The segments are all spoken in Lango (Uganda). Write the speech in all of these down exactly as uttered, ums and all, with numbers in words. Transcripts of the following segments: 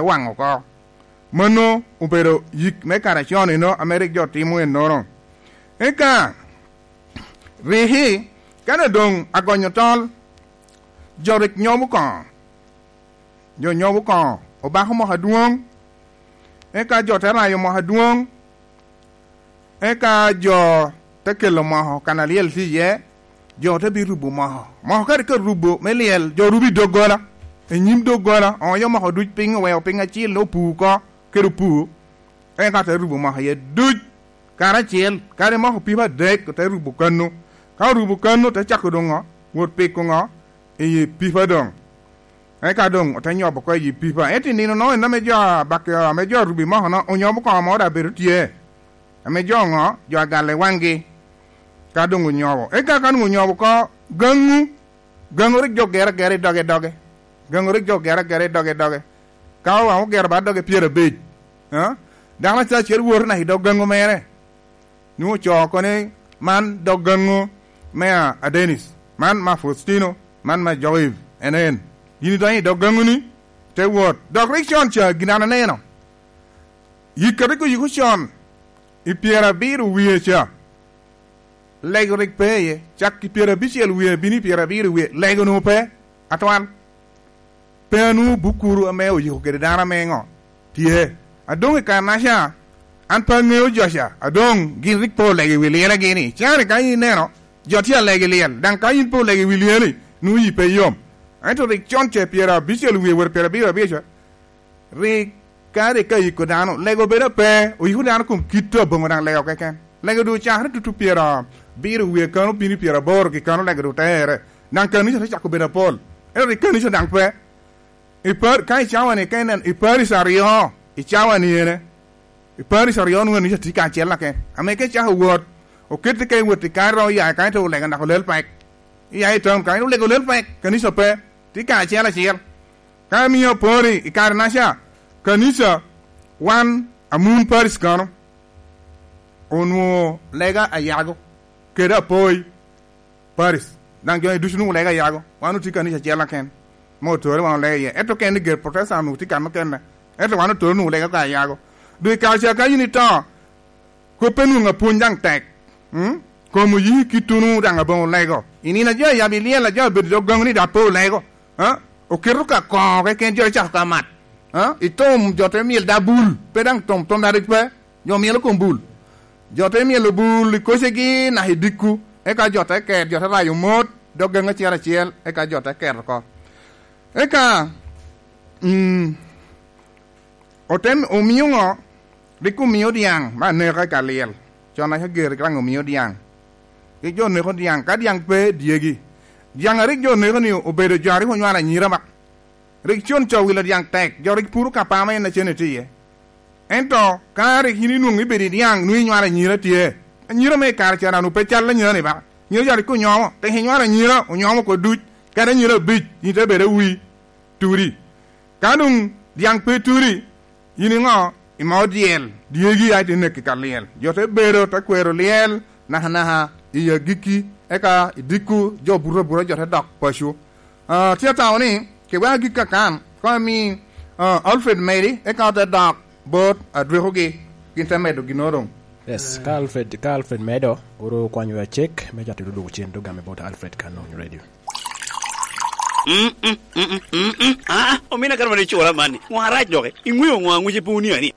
waŋ oko. Mano obedo yik me kare acon eno ame rik jo timo ennono. Eka riki, kane doŋ agonyo tol, jo rik nyobo koŋo. Jo nyobo koŋo, obako moko adwoŋ, eka jo te rayo moko adwoŋ, eka jo te kelo moko kan alyel tye iye, jo te bi rubo moko. Moko ka rik arubo me lyel, jo rubo i doggola, i nyim doggola, oonyo moko duc piny, oweo piny acil, opu oko kede opu, eka te rubo moko iye duc karacel, kadi moko pipa adek, ote rubo kano. Ka orubo kano, te cako doŋ ŋo? Wot piko ŋo? I pipa doŋ. Eka doŋ ote nyobo oko i pipa. Ento i nino-nono en ame jo abak-, ame jo arubi moko-no onyobo koŋo ame daŋ bedo tye. Ame jo ŋo? Jo agale waŋgi. Ka doŋ onyobo. Eka ka doŋ onyobo oko, gaŋu. Gaŋu rik jo gero agera i doge doge. Gaŋu rik jo gero agera i doge doge. Ka owaŋ ogero ba doge pyerabic. Ha? Dano acel acel woto naka i dog gaŋu mere. Nwoŋo ocoo oko ni, "Man dog gaŋo me a, a Dennis, man me a Faustino, man me a Joib, en en." Yin idonyo i dog gaŋoni, te wot. Dok rik con ca, gin an aneno. Yik a rik oyiko con, i pyerabiro wie ca, lego rik pe iye. Cak i pyerabicel wie, bino i pyerabiro wie, lego onwoŋo pe, atwal. Pe anwoŋo bukuru ame oyiko kede dano ame ŋo? Tye. A doŋ i kare-naca, an pe aŋeo jo ca, a doŋ gin rik pe olego i wi lyelegi ni, can ka in ineno, jo tye alego i lyel, daŋ ka in pe olego i wi lyeli, nwoŋo yi pe yom. Ento rik con ce pyerabicel wie wot pyerabiro abiro ca, rik ka rik ka yiko dano, lego bedo ape, oyiko dano kom kit aboŋo daŋ lego keken. Lego doŋ ocakere tutu pyerabiro wie kano bino i pyeraboro gi kano lego doŋ tere. Daŋ kanica te cako bedo apol. Ento rik kanica daŋ pe. I par-, ka i cawa-ni, ka inen, i Paris aryo, i cawa-ni ene, i Paris aryo nwoŋo eni tye kacel aken. Ame ka icako wot, oketti ka iwot i kare, iromo ya i kany, te olega naka olel pek. Iya i town kany, olega olel pek, kanica pe, tye kacel acel. Ka imio apori i kare-naca, kanica, wan, amun Paris kono, onwoŋo lega ayago, kede apoi. Paris. Daŋ jo-ni ducu onwoŋo lega ayago. Wan otye kanica acel aken. Ma otore wan olega iye. Ento ka en i ger Protestant onwoŋo tye kan okene. Ento wan otore onwoŋo lega ka ayago. Doŋ i kare ca ka yin ito, kop pe nwoŋo apwony daŋ tek. Mm? Kom oyi kit onwoŋo daŋ aboŋo lego. I nino a jo ayabo i lyel a jo abedo i dog gaŋo ni daŋ pe olego. Ha? Oketo ka koŋo keken jo icako ka mat. Ha? I tom jo te myel da bul. Pe daŋ tom, tom da rik pe. Jo myelo kom bul. Jo te myelo bul i kocegi naka i dikku, eka jo te ket, jo te rayo mot, dog gaŋ acel acel, eka jo te ket oko. Eka, mm, ote m-, omio ŋo? Rik omio dyaŋ me aneka i ka lyel. Con aca ger rik daŋ omio dyaŋ. Rik jo neko dyaŋ, ka dyaŋ pe dyegi. Dyaŋ a rik jo neko-ni obedo jo a rik onywalo anyira ba. Rik con ca owilo dyaŋ tek, jo rik puro ka pama en acen itye iye. Ento ka rik yin inwoŋo ibedo i dyaŋ, nwoŋo inywalo anyira tye. Anyira me i kare ca daŋ pe cal anyira-ni ba. Anyira ca rik onyomo, tek inywalo anyira, onyomo oko duc, kadi anyira abic, yin te bedo awi, turi. Ka doŋ dyaŋ pe turi, yin iŋo? Imao dyel, dyegi a ite neko i ka lyel. Jo te bedo, te kwero lyel, nakanaka i agikki, eka i dikku, jo buto abuta, jo te dok paco. Ah, tye atamo ni, keweko agikki akan, kono ami, ah, Alfred medi, eka ote dok bot adwekogi, gin te medo ginnoro doŋ. Yes, ka Alfred, ka Alfred medo, oro kwanyo wa cek, me cato duduk cen dog ame bot Alfred kan on radio. Mm, mm, mm, mm, mm, mm. Ah, omina kara mani cura mani. Ŋwa rac doke. Iŋweo ŋwa ŋwece pe onia ni?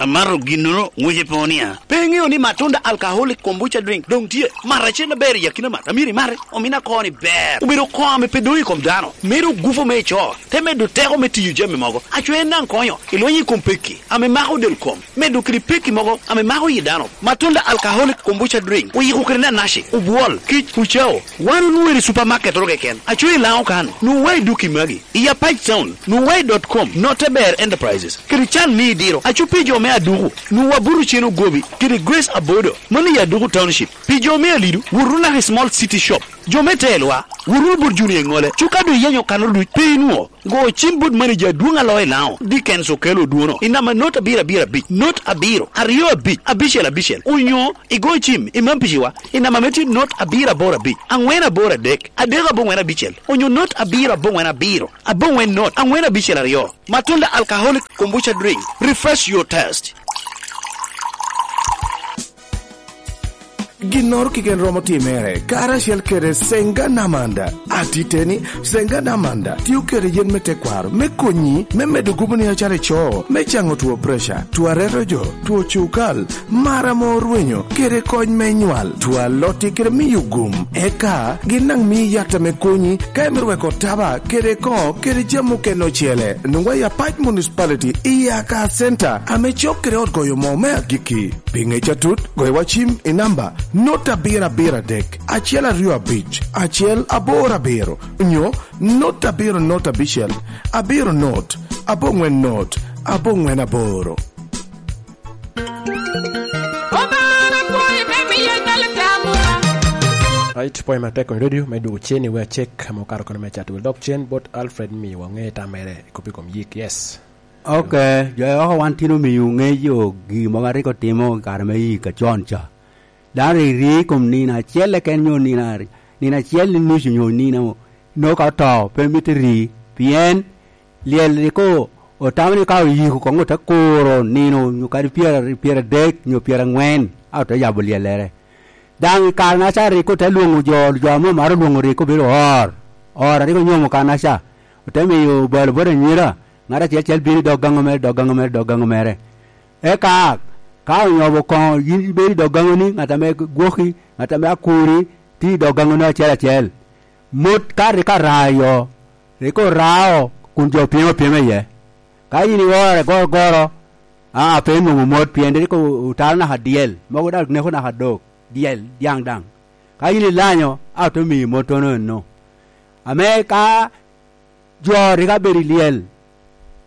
Amato ginnoro ŋwece pe onia. Pe iŋeo ni Matunda Alcoholic Kombucha Drink doŋ tye? Mat acel aber i akina mat. Amiri mare. Omina koni ber. Obedo koŋ ame pe doŋ i kom dano. Medo gupo me ico. Te medo teko me tiyo jami mogo. Aco en daŋ konyo. Ilweny i kom pekki. Ame mako del kom. Medo kede pekki mogo. Ame mako yi dano. Matunda Alcoholic Kombucha Drink. Oyiko kede nanaci. Obwol. Kic. Ocao. Wan onwoŋo i supermarket oro keken. Aco i Laŋo kan. Nwoŋo wa i duki magi. I Apac Town. Nwoŋo wa i dot com. Note Ber Enterprises. Kede can me idiro. Aco pi jo me Aduku, nwoŋo Abuto Cen Ogobi, kede Grace Abodo, mano i Aduku Township. Pi jo me Alidu, wot wunu naka i Small City Shop. Jo me Telwa, wot wunu bot Junior Eŋole, cuka doŋ iyenyo kano duc, pe inwoŋo. Go cim bot manager adwoŋ a loo i Laŋo, Dickens Okello Odwono, i namba not abiro abiro abic, not abiro, aryo abic, abicel abicel, onyo igo cim i Mampiciwa, i namba me tye not abiro aboro abic, aŋwen aboro adek, adek aboŋwen abicel, onyo not abiro aboŋwen abiro, aboŋwen not, aŋwen abicel aryo. Matunda Alcoholic Kombucha Drink, refresh your taste. Ginnoro keken romo timere karacel kede Senga Namanda. Atiteni, Senga Namanda tio kede yen me tekwaro me konyi me medo gubo ni acara ico, me caŋo two preca, two areto jo, two cukal, mara mo orwenyo, kede kony me nywal, two alotti kede miyo gum. Eka gin daŋ mii yat ame konyi ka imito weko taba kede koŋo kede jami okene ocele. Nwoŋwa i Apac Municipality i Aka Center ame cok kede ot goyo moo me agikki. Pi ŋec atut, goyo wa cim i namba not abiro abiro adek, acel aryo abic, acel aboro abiro, nyo not abiro not abicel, abiro not, aboŋwen not, aboŋwen aboro. Obara kwoyo me miyo dalo tamwa. Right, pwoyo matek kong radio me dwogo cen i wer cek ame okato kono me cat. Wel dok cen bot Alfred miyo waŋe tamere i kop i kom yik. Yes. Ok, jo oko wan tin omiyo ŋeyo gin mogo a rik otimo i kare me yik acon ca. Dano rik ri i kom nino acel keken nyo nino ari-, nino acel i nucu nyo nino, nongo ka oto, pe mito ri, pien lyel rik o-, otamo ni ka oyiko koŋ ote kuro nino nyo kadi pyera-, pyeradek nyo pyeraŋwen, a ote yabo lyellere. Daŋ i kare-naca rik ote lwoŋo jo, jo ame omaro lwoŋo rik obedo or, or a rik onyomo kan-naca, ote miyo balo bot anyira, ŋat acel acel bino i dog gaŋo mere, dog gaŋo mere, dog gaŋo mere. Eka ka onyomo koŋo, yin ibedo i dog gaŋoni, ŋat ame gwoki, ŋat ame akuri, tye i dog gaŋoni acel acel. Mot ka rik ara yo, rik orao kun jo pyem apyema iye. Ka yin iore gorogoro, a, pe inwoŋo mot, pien rik o-, otalo naka dyel, mogo daŋ neko naka dok, dyel, dyaŋ daŋ. Ka yin ilanyo, a, ote miyi mottono eno. Ame ka jo rik abedo i lyel,